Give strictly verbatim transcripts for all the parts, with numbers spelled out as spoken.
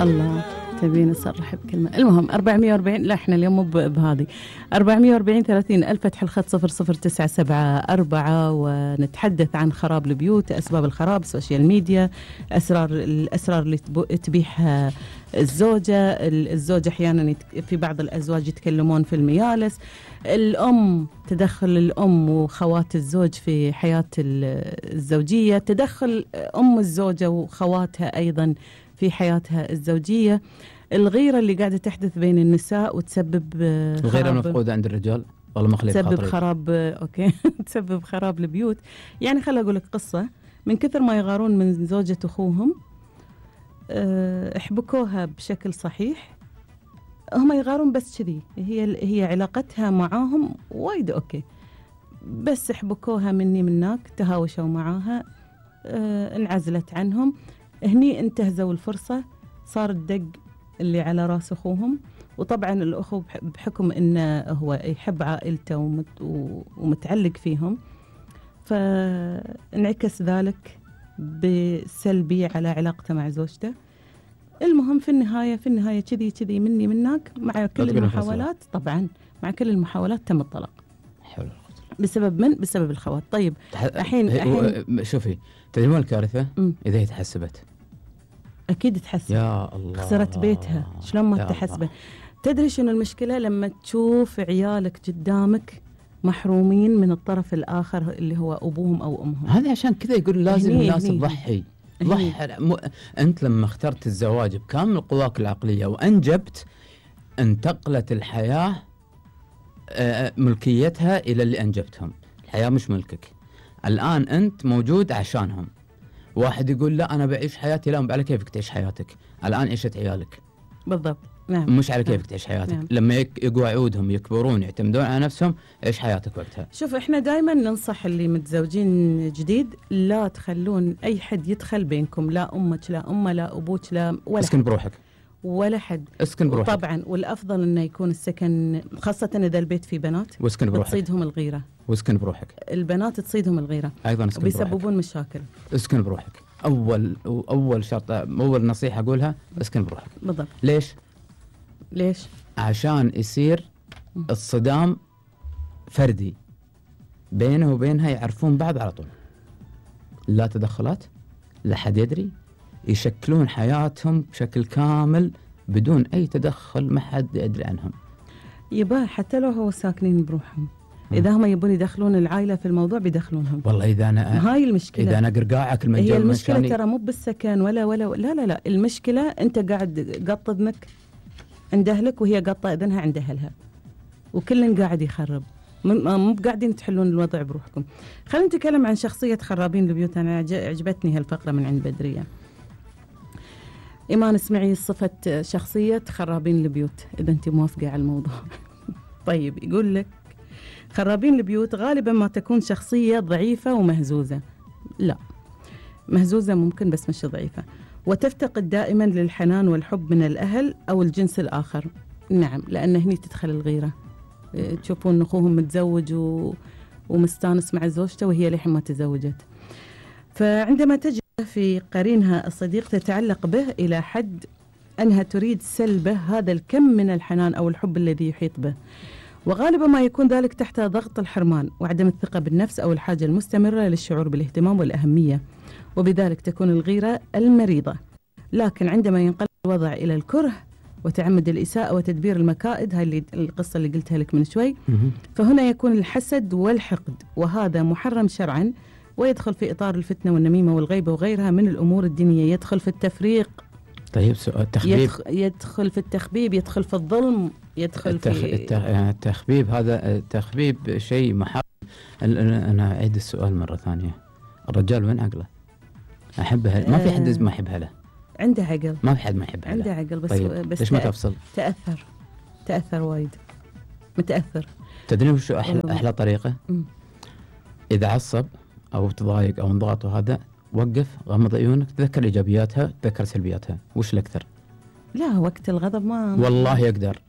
الله تبين أصرح بكلمة. المهم أربعمية وأربعين، لا إحنا اليوم مو بهذه. أربعمية وأربعين ثلاثين ألف، فتح الخط صفر صفر تسعة سبعة أربعة، ونتحدث عن خراب البيوت، أسباب الخراب، السوشيال ميديا، أسرار الأسرار اللي تبيحها الزوجة. الزوجة أحيانا في بعض الأزواج يتكلمون في الميالس. الأم، تدخل الأم وخوات الزوج في حياة الزوجية، تدخل أم الزوجة وخواتها أيضا في حياتها الزوجية. الغيرة اللي قاعدة تحدث بين النساء وتسبب الغيرة مفقودة عند الرجال، والله مخلي تسبب خراب. أوكي تسبب خراب البيوت. يعني خلي أقول لك قصة. من كثر ما يغارون من زوجة أخوهم، احبكوها بشكل صحيح، هم يغارون بس كذي، هي هي علاقتها معاهم وايد أوكي، بس احبكوها مني منك، تهاوشوا معاها، اه انعزلت عنهم. هني انتهزوا الفرصة، صار الدق اللي على راس أخوهم. وطبعا الأخو بحكم إنه هو يحب عائلته ومت ومتعلق فيهم، فانعكس ذلك بسلبي على علاقته مع زوجته. المهم في النهاية في النهاية كذي كذي مني منك، مع كل المحاولات طبعا مع كل المحاولات تم الطلاق. حلو. بسبب من؟ بسبب الخوات. طيب الحين الحين شوفي، تدري وين الكارثة؟ إذا هي تحسبت، أكيد تحسب. يا الله، خسرت بيتها، شلون ما تحسبه؟ تدري شنو المشكلة؟ لما تشوف عيالك قدامك محرومين من الطرف الآخر اللي هو أبوهم أو أمهم. هذا عشان كذا يقول لازم الناس تضحي. ضحي. م... أنت لما اخترت الزواج بكامل قواك العقلية وأنجبت، انتقلت الحياة ملكيتها إلى اللي أنجبتهم. الحياة مش ملكك الآن، أنت موجود عشانهم. واحد يقول لا أنا بعيش حياتي، لا على كيفك تعيش حياتك، الآن عيشت عيالك. بالضبط. نعم. مش على كيفك تعيش حياتك. نعم. لما يقوى عودهم يكبرون يعتمدون على نفسهم، عيش حياتك وقتها. شوف إحنا دائما ننصح اللي متزوجين جديد، لا تخلون أي حد يدخل بينكم، لا أمك لا أمه لا أبوك لا ولا اسكن بروحك، ولا حد. اسكن بروحك طبعا، والأفضل إنه يكون السكن، خاصة إذا البيت فيه بنات، واسكن بروحك، تصيدهم الغيرة. واسكن بروحك، البنات تصيدهم الغيرة أيضا اسكن بروحك، وبيسببون مشاكل. اسكن بروحك. أول أول شرط، أول نصيحة أقولها، اسكن بروحك. بالضبط. ليش؟ ليش؟ عشان يصير الصدام فردي بينه وبينها، يعرفون بعض على طول، لا تدخلات، لا حد يدري، يشكلون حياتهم بشكل كامل بدون أي تدخل، ما حد يدري عنهم. يبا حتى لو هو ساكنين بروحهم، إذا هم يبون يدخلون العائلة في الموضوع بيدخلونهم. والله إذا أنا هاي المشكلة، إذا أنا قرقاعك المنجل، هي المشكلة ترى مو بالسكن ولا ولا لا لا لا المشكلة أنت قاعد قط إذنك عند أهلك، وهي قطة إذنها عند أهلها، وكلن قاعد يخرب، مو قاعدين تحلون الوضع بروحكم. خلينا نتكلم عن شخصية خرابين البيوت. أنا عجبتني هالفقرة من عند بدرية. إيمان اسمعي صفة شخصية خرابين البيوت إذا أنت موافقة على الموضوع. طيب يقول لك خرابين البيوت غالبا ما تكون شخصية ضعيفة ومهزوزة. لا، مهزوزة ممكن بس مش ضعيفة، وتفتقد دائما للحنان والحب من الأهل أو الجنس الآخر. نعم، لأن هني تدخل الغيرة. تشوفون أخوهم متزوج و... ومستانس مع زوجته وهي لحين ما تزوجت، فعندما تجد في قرينها الصديق تتعلق به إلى حد أنها تريد سلبه هذا الكم من الحنان أو الحب الذي يحيط به، وغالبا ما يكون ذلك تحت ضغط الحرمان وعدم الثقة بالنفس أو الحاجة المستمرة للشعور بالاهتمام والأهمية، وبذلك تكون الغيرة المريضة. لكن عندما ينقلب الوضع إلى الكره وتعمد الإساءة وتدبير المكائد، هاي اللي القصة اللي قلتها لك من شوي، فهنا يكون الحسد والحقد، وهذا محرم شرعا، ويدخل في إطار الفتنة والنميمة والغيبة وغيرها من الأمور الدينية، يدخل في التفريق. طيب سؤال، التخبيب يدخل, يدخل في التخبيب، يدخل في الظلم، يدخل التخ... في التخ... يعني التخبيب. هذا التخبيب شيء محرم. أنا أعيد السؤال مرة ثانية، الرجال وين عقله؟ أحبها، ما في حد ما يحبها له، عنده عقل، ما في حد ما يحبها له، عنده عقل، بس طيب بس ليش ما تفصل؟ تأثر تأثر وايد، متأثر. تدري وش أحلى, أحلى طريقة؟ م. إذا عصب أو تضايق أو انضغط وهذا، وقف، غمض عيونك، تذكر إيجابياتها، تذكر سلبياتها، وش الأكثر؟ لا، وقت الغضب ما والله يقدر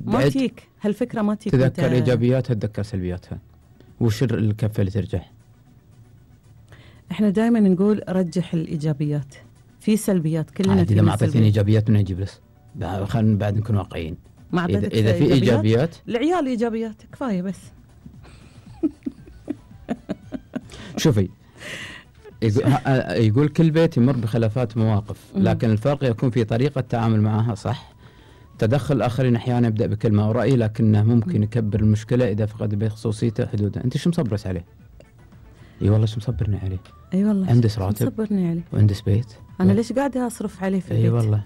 ما تيك هالفكرة، ما تيك، تذكر إيجابياتها، تذكر سلبياتها، وش الكفة اللي ترجح؟ احنا دائما نقول رجح الإيجابيات في سلبيات كلنا. إذا ما أعطيتني إيجابيات من أجيب لس، خلينا بعد نكون واقعيين. ما إذا, إذا في إيجابيات العيال إيجابيات كفاية بس. شوفي يقول كل بيت يمر بخلافات مواقف، لكن الفرق يكون في طريقة التعامل معها. صح، تدخل الآخرين أحيانا يبدأ بكلمة أو رأي، لكنه ممكن يكبر المشكلة إذا فقد البيت خصوصيته حدوده. أنت شو مصبرت عليه؟ اي والله شو مصبرني عليه. اي والله عندس راتب مصبرني عليه وعندس بيت. انا و... ليش قاعده اصرف عليه في البيت؟ اي والله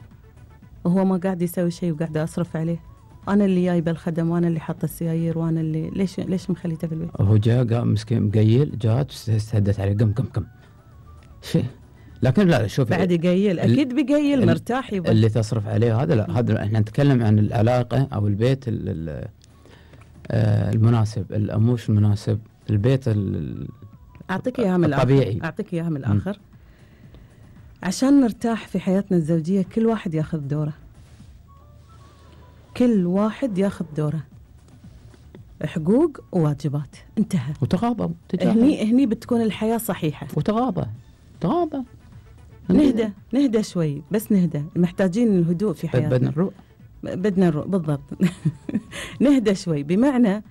وهو ما قاعد يسوي شيء وقاعده اصرف عليه. انا اللي جايبه الخدم وانا اللي حاطه السيايير وانا اللي ليش ليش مخليته في البيت؟ هو جاء قام مسكين مقيل، جات استهدت عليه قم قم قم شيء. لكن لا شوف بعد يقيل اكيد بيقيل مرتاح يبقى اللي تصرف عليه هذا. لا هذا احنا نتكلم عن العلاقه او البيت المناسب، مش المناسب البيت اعطيك اياها من الطبيعي. اعطيك اياها من الاخر. عشان نرتاح في حياتنا الزوجيه كل واحد ياخذ دوره، كل واحد ياخذ دوره، حقوق وواجبات، انتهى. وتغاضى هني هني بتكون الحياه صحيحه. وتغاضى تغاضى نهدى نهدى شوي، بس نهدى، محتاجين الهدوء في حياتنا. بدنا نروق بدنا نروق بالضبط. نهدى شوي، بمعنى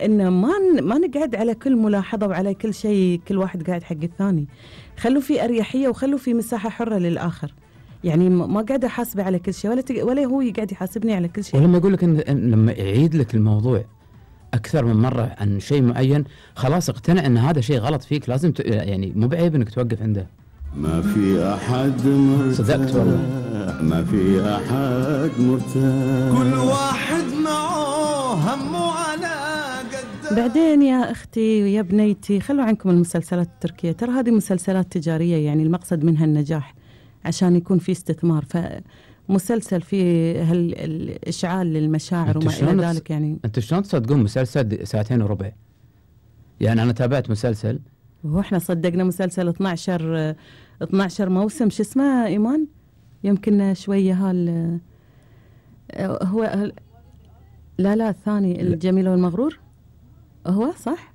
إن ما ما نقعد على كل ملاحظة وعلى كل شيء كل واحد قاعد حق الثاني. خلوا في أريحية وخلوا في مساحة حرة للآخر. يعني ما قاعد أحاسبه على كل شيء ولا تق... ولا هو يقعد يحاسبني على كل شيء. ولما يقول لك إن... إن لما يعيد لك الموضوع أكثر من مرة عن شيء معين، خلاص اقتنع إن هذا شيء غلط فيك، لازم ت... يعني مو بعيب إنك توقف عنده. ما في أحد مرتاح، صدقت والله، ما في أحد مرتاح، كل واحد معه همه على قد. بعدين يا أختي ويا بنيتي خلوا عنكم المسلسلات التركية، ترى هذه مسلسلات تجارية، يعني المقصد منها النجاح عشان يكون في استثمار. فمسلسل فيه هالإشعال للمشاعر وما إلى ذلك. يعني أنت شلون تصدقون مسلسل ساعتين وربع؟ يعني أنا تابعت مسلسل واحنا صدقنا مسلسل اثناشر اثناشر موسم. شو اسمه ايمان؟ يمكن شويه هال هو لا لا الثاني الجميل والمغرور هو صح؟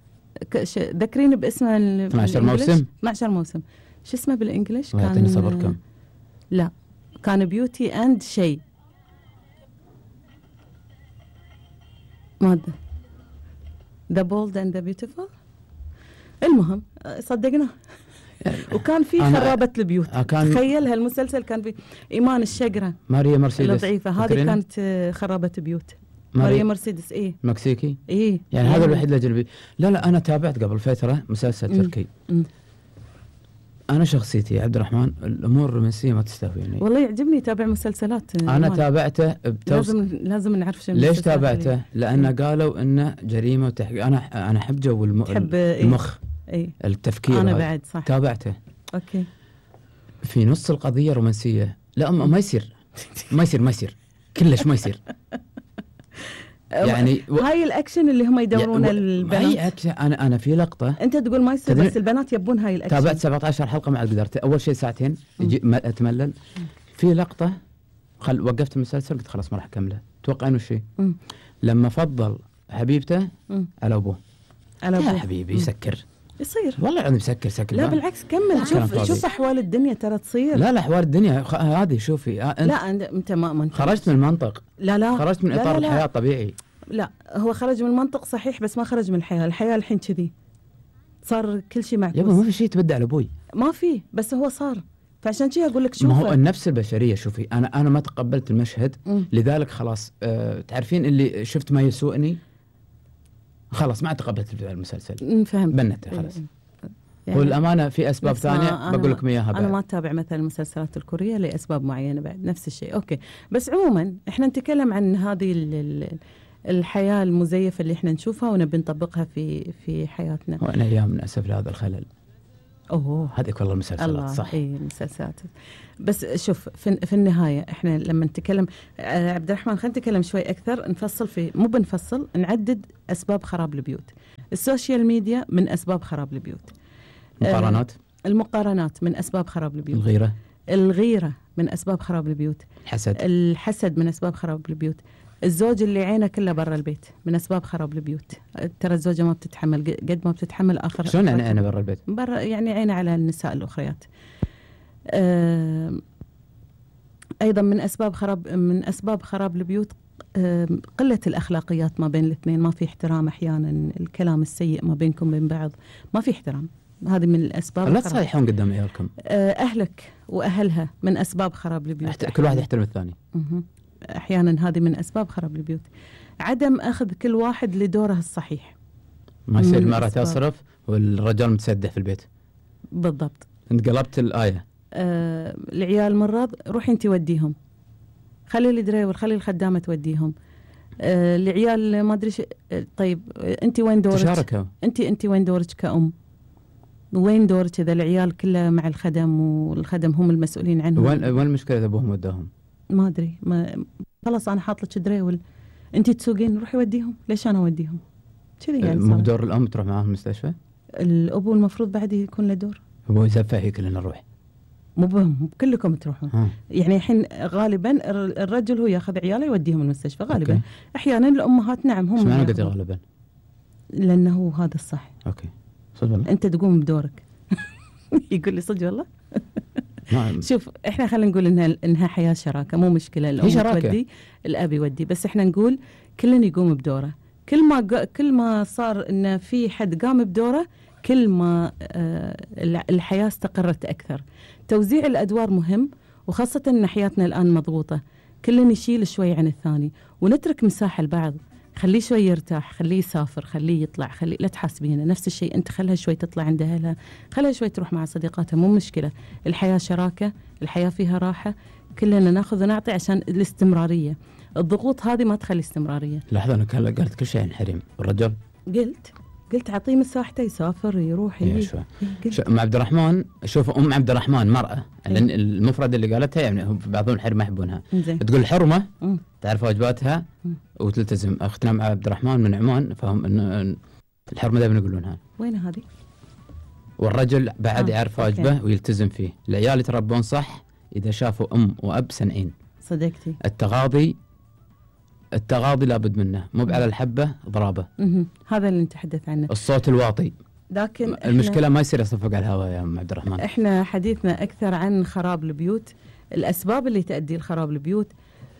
ذكريني باسمه. اثناشر موسم اثناشر موسم. شو اسمه بالانجلش؟ كان يعطيني صبركم. لا كان بيوتي اند شيء ماذا ذا بولد اند ذا بيوتيفول. المهم صدقنا. وكان في خرابة البيوت. تخيل هالمسلسل كان في إيمان الشقرة ماريا مرسيدس الضعيفة، هذه كانت خرابة بيوت. ماريا, ماريا مرسيدس إيه مكسيكي إيه يعني هذا الوحيد الأجنبي. لا لا أنا تابعت قبل فترة مسلسل م. تركي م. أنا شخصيتي عبد الرحمن الأمور الرومانسية ما تستهويني والله. يعجبني تابع مسلسلات. أنا مال. تابعته بتوص... لازم لازم نعرف شو ليش تابعته. لأنه قالوا إنه جريمة وتحقيق. أنا أنا أحب جو الم... المخ إيه؟ التفكير. أنا بعد صح تابعته. أوكي. في نص القضية رومانسية. لا ما يصير ما يصير ما يصير كلش ما يصير. يعني و... هاي الأكشن اللي هم يدورون يعني البنات. هاي أكشن. أنا أنا في لقطة أنت تقول ما يصير بس البنات يبون هاي الأكشن. تابعت سبعة عشر حلقة مع قدرت. أول شيء ساعتين أتملل. في لقطة خل وقفت المسلسل قلت خلاص ما راح أكمله. توقعين وش شيء؟ لما فضل حبيبته م. على أبوه. على أبوه يا حبيبي سكر. يصير والله أنا مسكر سكر. لا بالعكس كمل. شوف شوف أحوال الدنيا ترى تصير. لا لا أحوال الدنيا هذه شوفي. أنت لا أنت ما, ما خرجت من المنطق. لا لا خرجت من إطار لا لا الحياة الطبيعي. لا هو خرج من المنطق صحيح بس ما خرج من الحياة. الحياة الحين كذي صار كل شيء معكوس. يبا ما في شيء تبدأ على أبوي. ما في بس هو صار. فعشان كذا أقول لك شوف. ما هو النفس البشرية. شوفي أنا أنا ما تقبلت المشهد م. لذلك خلاص. أه تعرفين اللي شفت ما يسوءني خلاص ما تقبلت المسلسل. فهمت. بنته خلاص. يعني والأمانة في أسباب ثانية بقول لكم إياها بعد. أنا ما أتابع مثلا المسلسلات الكورية لأسباب معينة بعد نفس الشيء. أوكي بس عموما إحنا نتكلم عن هذه الحياة المزيفة اللي إحنا نشوفها ونبي نطبقها في في حياتنا. وأنا أيام من أسف لهذا الخلل. أوه هذيك والله المسلسلات صح. إيه المسلسلات. بس شوف في, في النهاية إحنا لما نتكلم آه عبد الرحمن خلينا نتكلم شوي أكثر. نفصل في مو بنفصل نعدد أسباب خراب البيوت. السوشيال ميديا من أسباب خراب البيوت. المقارنات آه المقارنات من أسباب خراب البيوت. الغيرة الغيرة من أسباب خراب البيوت. الحسد الحسد من أسباب خراب البيوت. الزوج اللي عينه كله برا البيت من أسباب خراب البيوت. ترى الزوجة ما بتتحمل قد ما بتتحمل آخر. شلون يعني أنا برا البيت؟ برا يعني عينه على النساء الأخريات. أه أيضا من أسباب خراب من أسباب خراب البيوت آم، قلة الأخلاقيات ما بين الاثنين، ما في احترام أحيانا، الكلام السيء ما بينكم بين بعض، ما في احترام. هذه من الأسباب. لا الخراب. تصيحون قدام عيالكم. آه، أهلك وأهلها من أسباب خراب البيوت. احت- كل واحد يحترم الثاني. مهم. أحيانا هذه من أسباب خراب البيوت. عدم أخذ كل واحد لدوره الصحيح. ما يصير من المرأة الأسباب. تصرف والرجال متسدح في البيت. بالضبط. انت قلبت الآية. آه، العيال مرض، روحي انت وديهم، خلي الدريور، خلي الخدامة توديهم. آه، العيال ما ادري شو- آه، طيب آه، انت وين دورك؟ تشاركوا. انت انت وين دورك كأم؟ وين دورك اذا العيال كلها مع الخدم والخدم هم المسؤولين عنهم؟ وين وين المشكلة إذا أبوهم وداهم؟ ما ادري، ما خلاص انا حاط لك دريول، انت تسوقين، روحي وديهم، ليش انا اوديهم؟ كذي يعني مو صار. بدور الأم تروح معاهم المستشفى؟ الابو المفروض بعد يكون له دور، هو يزفه هي كلنا نروح. مو بهم كلكم تروحون. ها. يعني الحين غالبا الر- الرجل هو ياخذ عياله يوديهم المستشفى غالبا. أوكي. احيانا الامهات نعم هم ايش معنى قد ياخذون. غالبا؟ لانه هذا الصح، اوكي صدق والله. انت تقوم بدورك. يقول لي صدق والله. ما- شوف احنا خلينا نقول انها انها حياه شراكه، مو مشكله الام هي شراكة. تودي الاب يودي، بس احنا نقول كلنا يقوم بدوره. كل ما قا- كل ما صار ان في حد قام بدوره، كل ما آه، الع- الحياه استقرت اكثر. توزيع الادوار مهم، وخاصه ان حياتنا الان مضغوطه، كلنا يشيل شوي عن الثاني ونترك مساحه لبعض. خليه شوي يرتاح، خليه يسافر، خليه يطلع، خليه لا تحاسبينه. نفس الشيء انت خلها شوي تطلع عند اهلها، خلها شوي تروح مع صديقاتها، مو مشكله. الحياه شراكه، الحياه فيها راحه، كلنا ناخذ ونعطي عشان الاستمراريه. الضغوط هذه ما تخلي استمراريه. لحظة أنا كان- قالت كل شيء عن حريم والرجال. قلت قلت اعطيه مساحته، يسافر، يروح، إيه يجي. شوي. قلت. شو- ام عبد الرحمن، شوف ام عبد الرحمن مرأة، لأن المفرد اللي قالتها يعني هم بعضهم الحريم ما يحبونها. زين. تقول الحرمة مم. تعرف واجباتها مم. وتلتزم. اختنا مع عبد الرحمن من عمان، فهم انه الحرمة دائما يقولونها. وين هذه؟ والرجل بعد آه، يعرف أوكي. واجبه ويلتزم فيه. العيال يتربون صح إذا شافوا أم وأب سنعين. صدقتي. التغاضي التغاضي لابد منه، مو على الحبة ضرابة. مهم. هذا اللي نتحدث عنه. الصوت الواطي. لكن إحنا- المشكلة ما يصير يصفق على الهواء يا أم عبد الرحمن. احنا حديثنا اكثر عن خراب البيوت، الاسباب اللي تؤدي لخراب البيوت.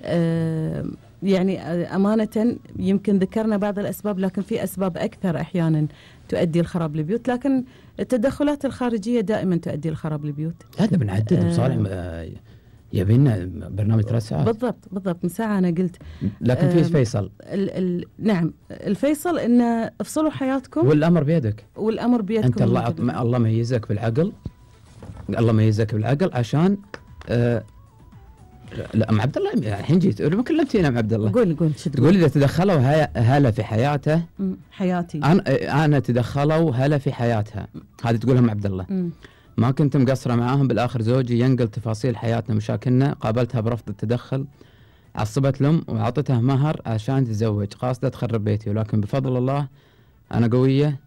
آه يعني آه، امانه يمكن ذكرنا بعض الاسباب، لكن في اسباب اكثر احيانا تؤدي لخراب البيوت، لكن التدخلات الخارجيه دائما تؤدي لخراب البيوت. هذا بنعدل آه. وصالح آه، يبينا برنامج ثلاث ساعات. بالضبط بالضبط، من ساعه انا قلت. لكن في آه، فيصل ال ال نعم الفيصل ان افصلوا حياتكم والأمر بيدك. والامر بيدكم. أنت الله مثل- عط- الله ميزك بالعقل، الله ميزك بالعقل عشان آه لا أم عبد الله يعني الحين جيت ما كلمتينا أم عبد الله. قول قول شو تقول إذا تدخلوا هي- هلا في حياته، مم، حياتي. انا انا تدخلوا هلا في حياتها، هذه تقولها ام عبد الله. مم. ما كنت مقصره معاهم، بالاخر زوجي ينقل تفاصيل حياتنا مشاكلنا، قابلتها برفض التدخل، عصبت الام واعطتها مهر عشان تتزوج، قاصده تخرب بيتي، ولكن بفضل الله انا قويه،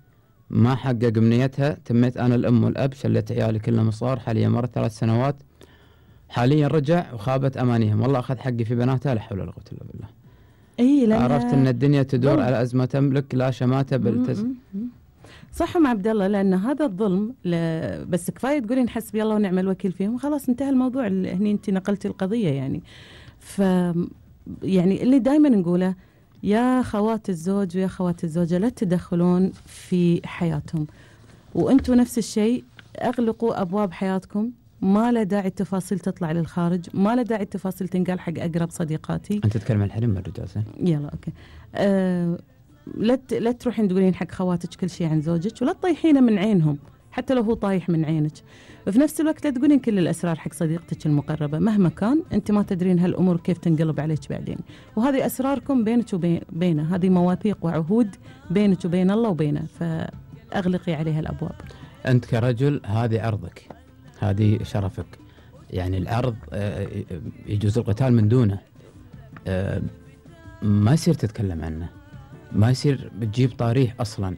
ما حقق امنيتها، تميت انا الام والاب، شلت عيالي كلهم صار، حاليا مرت ثلاث سنوات، حاليا رجع وخابت امانيهم، والله اخذ حقي في بناتها، لا حول ولا قوه الا بالله. اي لأنها- عرفت ان الدنيا تدور ظلم. على ازمه تملك، لا شماته بالتز... مم، مم. صح ام عبد الله، لان هذا الظلم ل... بس كفايه تقولين حسبي الله ونعم الوكيل فيهم، خلاص انتهى الموضوع. ال- هني انت نقلتي القضيه يعني. ف يعني اللي دائما نقوله يا خوات الزوج ويا خوات الزوجه، لا تدخلون في حياتهم، وانتم نفس الشيء اغلقوا ابواب حياتكم. ما له داعي التفاصيل تطلع للخارج، ما له داعي التفاصيل تنقال حق اقرب صديقاتي. انت تتكلم عن الحريم والرجال زين؟ يلا اوكي. أه لا ت- لا تروحين تقولين حق خواتك كل شيء عن زوجك، ولا تطيحينه من عينهم حتى لو هو طايح من عينك. وفي نفس الوقت لا تقولين كل الاسرار حق صديقتك المقربه، مهما كان انت ما تدرين هالامور كيف تنقلب عليك بعدين، وهذه اسراركم بينك وبينه، هذه مواثيق وعهود بينك وبين الله وبينه، فاغلقي عليها الابواب. انت كرجل هذه عرضك، هذه شرفك، يعني العرض آه، يجوز القتال من دونه، آه، ما يصير تتكلم عنه، ما يصير بتجيب طاريه اصلا.